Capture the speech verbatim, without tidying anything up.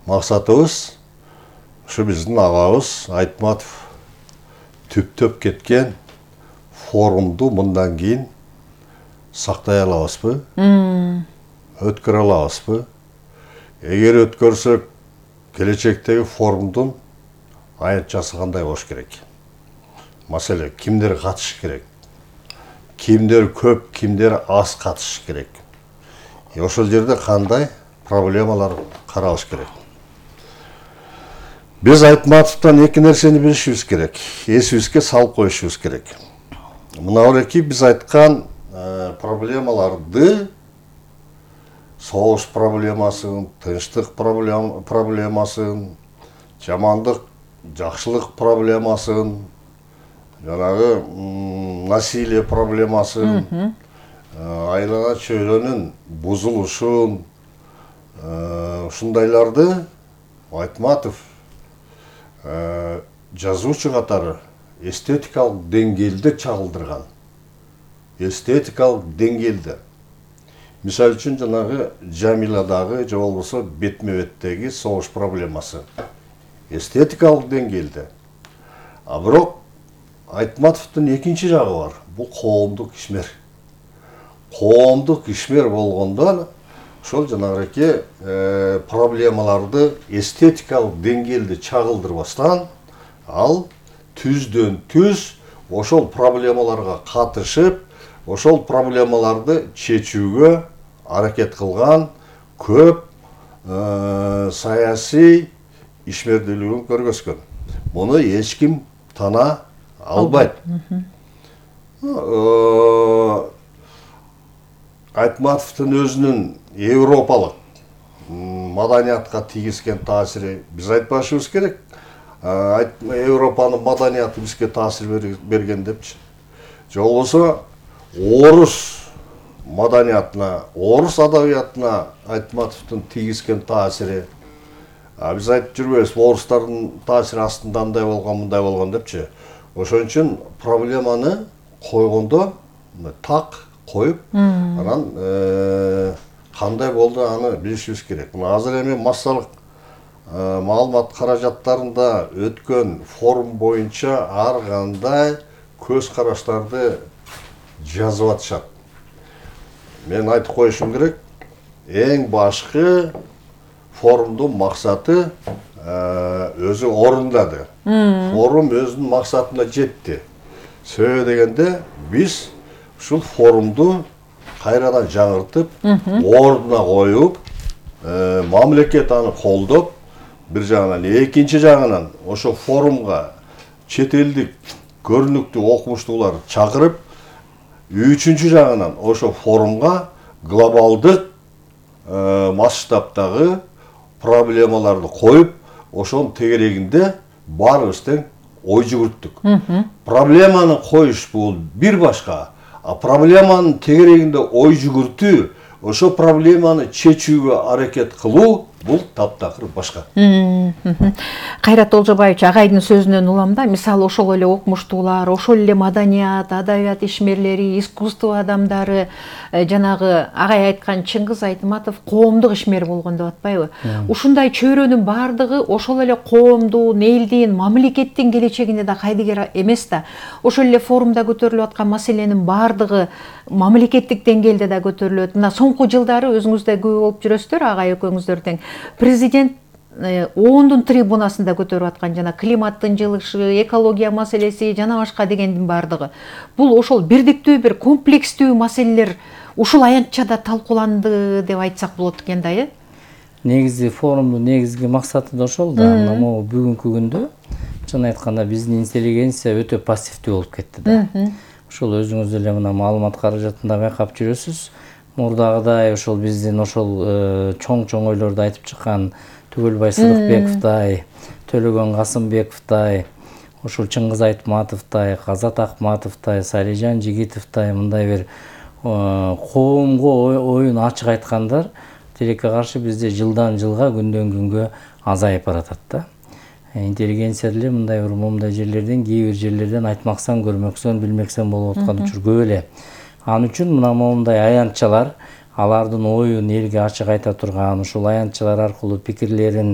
максатыбыз ушу биздин агабыз Айтматов түптөп кеткен форумду мындан кийин сактай алабызбы, өткөрө алабызбы? Эгер өткөрсөк, келечектеги форумдун аянтчасы кандай болуш керек? Маселе, кимдер катышыш керек? Кимдер көп, кимдер аз катышыш керек? Ошол жерде кандай проблемалар каралыш керек? Биз Айтматовдон эки нерсени билишибиз керек. Эсибизге салып коюшубуз керек. Мына эки биз айткан проблемаларды, согуш проблемасын, тынчтык проблемасын, жамандык, жакшылык проблемасын, жанагы насилие проблемасын, айлана чөйрөнүн бузулушун, ушундайларды Айтматов жазуучу катары эстетикалык деңгээлде чагылдырган. Эстетикалык деңгээлде. Мисалы үчүн жанагы Жамиладагы же болбосо бетме-беттеги согуш проблемасы. Эстетикалык деңгээлде. А бирок Айтматовдун экинчи жагы бар. Бул коомдук ишмер. Коомдук ишмер болгондо ошол жанагы проблемаларды эстетикалык деңгээлде чагылдырбастан, ал түздөн түз ошол проблемаларга катышып, ошол проблемаларды чечүүгө аракет кылган көп саясий ишмердүүлүгүн көргөзгөн. Муну эч ким тана албайт. Айтматовдун өзүнүн европалык маданиятка тийгизген таасири биз айтпашыбыз керек. Европанын маданияты бизге таасир берген депчи. Же болбосо орус маданиятына, орус адабиятына Айтматовдун тийгизген таасири. Биз айтып жүрбөйбүз, орустардын таасири астында андай болгон, мындай болгон депчи. Ошон үчүн проблеманы койгондо так коюп, анан кандай болду аны билишибиз керек. Мына азыр эми массалык маалымат каражаттарында өткөн форум боюнча ар кандай көз караштарды жазып атышат. Мен айтып коюшум керек, эң башкы форумдун максаты өзү орундады. Форум өзүнүн максатына жетти. Себеби дегенде биз ушул форумду кайрадан жаңыртып, ордуна коюп, мамлекет аны колдоп, бир жагынан, экинчи жагынан ошо форумга чет элдик көрүнүктүү окумуштуулар чакырып, үчүнчү жагынан ошо форумга глобалдык масштабтагы проблемаларды коюп, ошонун тегерегинде баарыбыз тең ой жүгүрттүк. Проблеманы коюш бул бир башка, а проблеманын тегерегинде ой жүгүртүү, ошо проблеманы чечүүгө аракет кылуу бул таптакыр башка. Кайрат Олжобаевич агайдын сөзүнөн улам да, мисалы ошол эле окумуштуулар, ошол эле маданият, адабият ишмерлери, искусство адамдары, жанагы агай айткан Чыңгыз Айтматов коомдук ишмер болгон деп атпайбы? Ушундай чөйрөнүн баардыгы ошол эле коомдун, элдин, мамлекеттин келечегине да кайдыгер эмес да. Ошол эле форумда көтөрүлүп аткан маселенин баардыгы мамлекеттик деңгээлде да көтөрүлөт. Мына соңку жылдары өзүңүз да күбө болуп жүрөсүздөр, агай экөөңүздөр тең. Президент ондун трибунасында көтөрүп аткан жана климаттын жылышы, экология маселеси жана башка дегендин баардыгы. Бул ошол бирдиктүү бир комплекстүү маселелер ушул аянтчада талкууланды деп айтсак болот экен да, э? Негизи форумдун негизги максаты да ошол да. Могу бүгүнкү күндө чын айтканда биздин интеллигенция өтө пассивдүү болуп кетти да. Ошол өзүңүз эле мына маалымат каражатында байкап жүрөсүз. Мурдагыдай ошол биздин ошол чоң-чоң ойлорду айтып чыккан Түгөлбай Сыдыкбековдай, Төлөгөн Касымбековдай, ошол Чыңгыз Айтматовдай, Казат Акматовдай, Салижан Жигитовдай мындай бир коомго оюн ачык айткандар тилекке каршы бизде жылдан жылга күндөн күнгө азайып баратат да. Интеллигенция деле мындай бир момундай жерлерден, кээ бир жерлерден айтмаксан, көрмөксөн, билмексен болуп аткан учур көп эле. Ал үчүн мына момундай аянтчалар алардын оюн элге ачык айта турган, ушул аянтчалар аркылуу пикирлерин